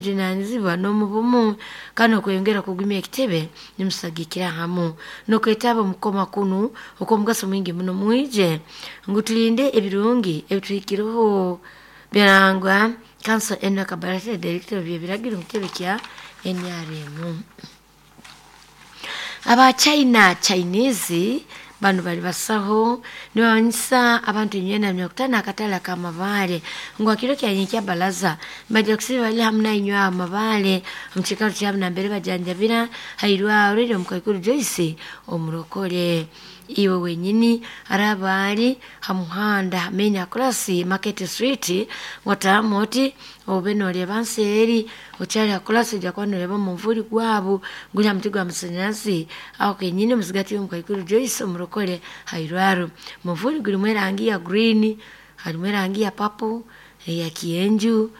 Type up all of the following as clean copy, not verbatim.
Obujunaanizibwa n'omu bumu kandi okweyongera kugumya ekitebe nimusagikira hamu n'okwetaba omu kukoma kunu okw'omugaso mwingi muno. Mwije ngu tulinde ebirungi ebituhikireho birangwa Kanso Enock Barata, Director by'ebiragiro omu kitebe kya NRM. Aba China, Chinese, banu bali basaho nibamanyisa abantu enywena 50 akatale ak'amabaale ngu hakiro kya nyenkya balaza nibaija kusiiba bali hamu nainywe aha mabaale omu kiikaro kyabo nambere bajanjabira hairwaro eri omukaikuru Joyce omurokore. Iwe wenyini araaba ali ha muhanda main across Market Street wataamu oti obe noreeba nseeri okyali ha kurasi oija kuba noreeba omunvuuri gwabo guri aha muti gwa masanyarazi aho kenyini omuzigati y'omukaikuru Joyce omurokore hairwaro. Omunvuuri gurimu erangi ya green, harimu erangi ya purple, eya kyenju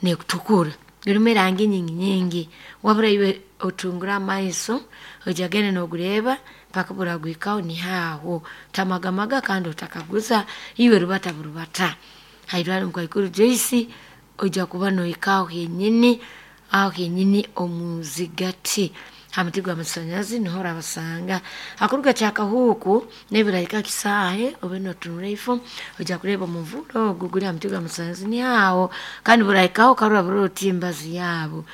n'ekutukura. Gurimu erangi nyingi nyingi wabura iwe otungure amaiso oija kugenda nogureeba mpaka obu oraguhikaho niho aho. Otamagamaga kandi otakaguza iwe rubata burubata. Hairwaro omukaikuru Joyce oija kuba nohika aho henyini, aho henyini omu zigati ha muti gwa masanyarazi niho orabasanga. Hakuruga Kyakahuuku n'ebirahika Kisaahe obe notunura ifo oija kureeba omunvuuri ogu guri aha muti gwa masanyarazi niho aho kandi burahikaho okarora oti embazi yaabo.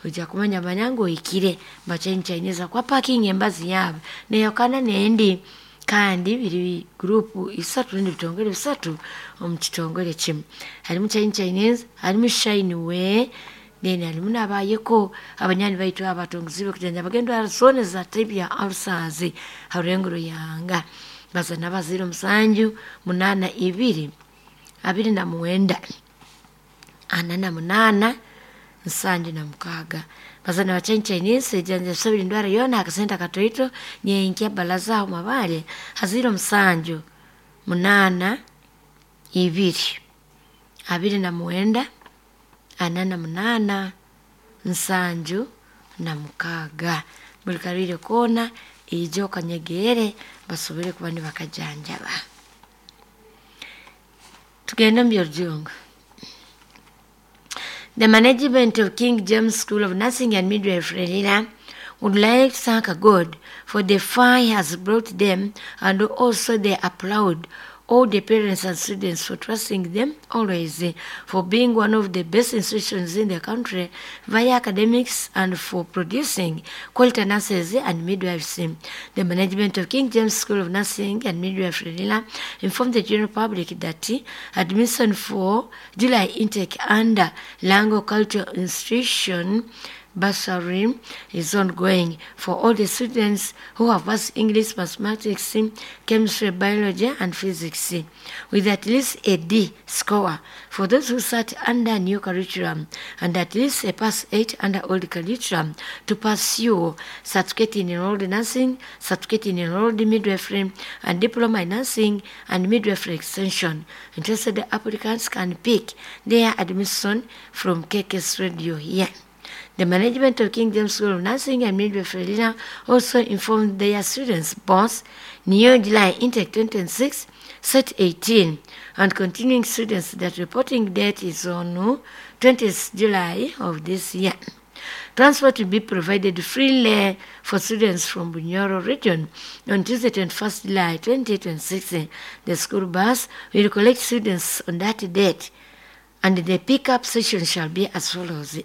Oija kumanya manya ngu ohikire Chinese ahakuba parking embazi yaabo neyahukana n'endi kandi biri guruupu isatu rundi bitongore bisatu omu kitongore kimwe. Harimu Chinese, harimu Shine Way, then harimu n'abayeko abanywani baitu aba abatongiziibwe kujanjaba endwara zoona eza type ya ulcers ha rurengo rw'eihanga. Baza n'abazaire 7 8 2 29 48 76. Baza na Chinese ejanjabisa buri ndwara yoona aha kasente akatoito nyenkya balaza aho mabaare hazaire 7 8 2 29 48 76. Buri karwaire koona ija okanyegeere basobole kuba nibakajanjaba. Tugende omu by'orujungu. The management of King James School of Nursing and Midwifery Lira would like to thank God for the far he has brought them, and also they applaud all the parents and students for trusting them always, for being one of the best institutions in the country via academics and for producing quality nurses and midwives. The management of King James School of Nursing and Midwifery Lira informed the general public that admission for July intake under Lango Cultural Institution bursary is ongoing for all the students who have passed English, mathematics, chemistry, biology, and physics with at least a D score. For those who sat under new curriculum and at least a pass 8 under old curriculum to pursue certificate in enrolled nursing, certificate in enrolled midwifery, and diploma in nursing and midwifery extension. Interested applicants can pick their admission from KKS Radio here. The management of King James School of Nursing and Midwifery Lira also informed their students both New July intake 2026, set 18, and continuing students that reporting date is on 20th July of this year. Transport will be provided freely for students from Bunyoro region on Tuesday, 21st July 2026. The school bus will collect students on that date, and the pickup session shall be as follows.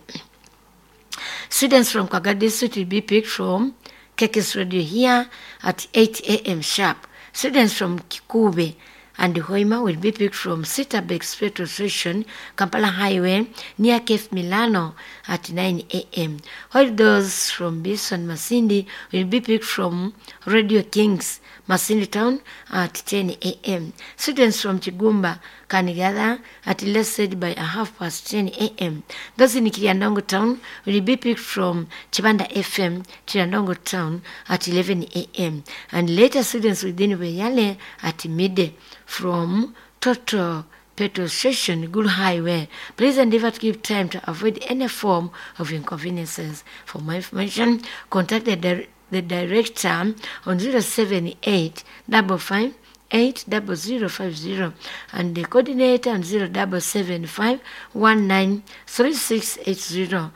Students from Kaga District will be picked from KKS Radio here at 8 a.m. sharp. Students from Kikube and Hoima will be picked from Sitabex petrol station, Kampala Highway, near Cape Milano at 9 a.m. While those from Bison Masindi will be picked from Radio Kings, Masindi Town at 10 a.m. Students from Chigumba can gather at least said by 10:30 a.m. Those in Kiryandongo Town will be picked from Chibanda FM, Kiryandongo Town at 11 a.m. And later students within Weyale at midday from Toto petrol station, Good Highway. Please endeavor to give time to avoid any form of inconveniences. For more information, contact the director on 078 55 80050 and the coordinator on 0775 193680.